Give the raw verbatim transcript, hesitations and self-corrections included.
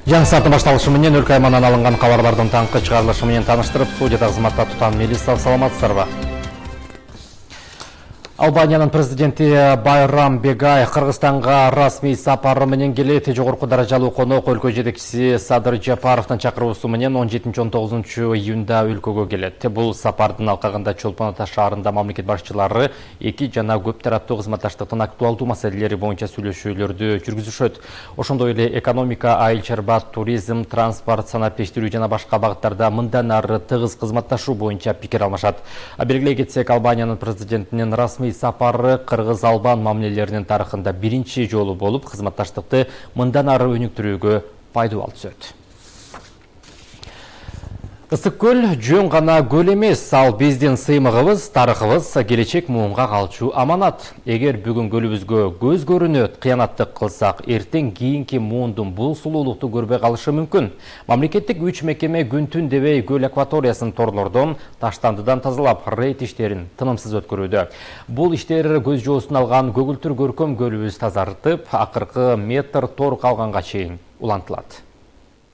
Жаңы сааттын башталышы менен өлкө аймагынан алынган кабарлардын таңкы чыгарылышы менен тааныштырып, студияда кызматта Тутан Мелисов, саламатсыздарбы? Албаниянын президенти Байрам Бегай Кыргызстанга расмий сапары менен келет. Жогорку даражалуу конок өлкө жетекчиси Садыр Жапаровдун чакыруусу менен он жетинчи он тогузунчу июнда өлкөгө келет. Бул сапардын алкагында Чолпон Ата шаарында мамлекет башчылары эки жана көп тараптуу кызматташтыктын актуалдуу маселелери боюнча сүйлөшүүлөрдү жүргүзүшөт. Ошондой эле экономика, айыл чарба, туризм, транспорт, санаптештирүү жана башка багыттарда мындан ары тыгыз кызматташуу боюнча пикир алмашат. Белгилей кетсек, Албаниянын президентинин расмий сапары кыргыз-албан мамилелеринин тарыхында биринчи жолу болуп, кызматташтыкты мындан ары өнүктүрүүгө пайдалуу түзөт. Ысык көл жөн гана көл эмес, ал биздин сыймыгыбыз, тарыхыбыз, келечек муунга калчу аманат. Эгер бүгүн көлүбүзгө көз көрүнөт, кыянаттык кылсак, эртең кийинки муундун бул сулуулукту көрбөй калышы мүмкүн. Мамлекеттик үч мекеме күн-түн дебей көл акваториясын торлордон, таштандыдан тазалап, рейд иштерин тынымсыз өткөрүүдө. Бул иштер көз жоосун алган көгүлтүр көркөм көлүбүз тазартып, акыркы метр тор калганга чейин улантылат.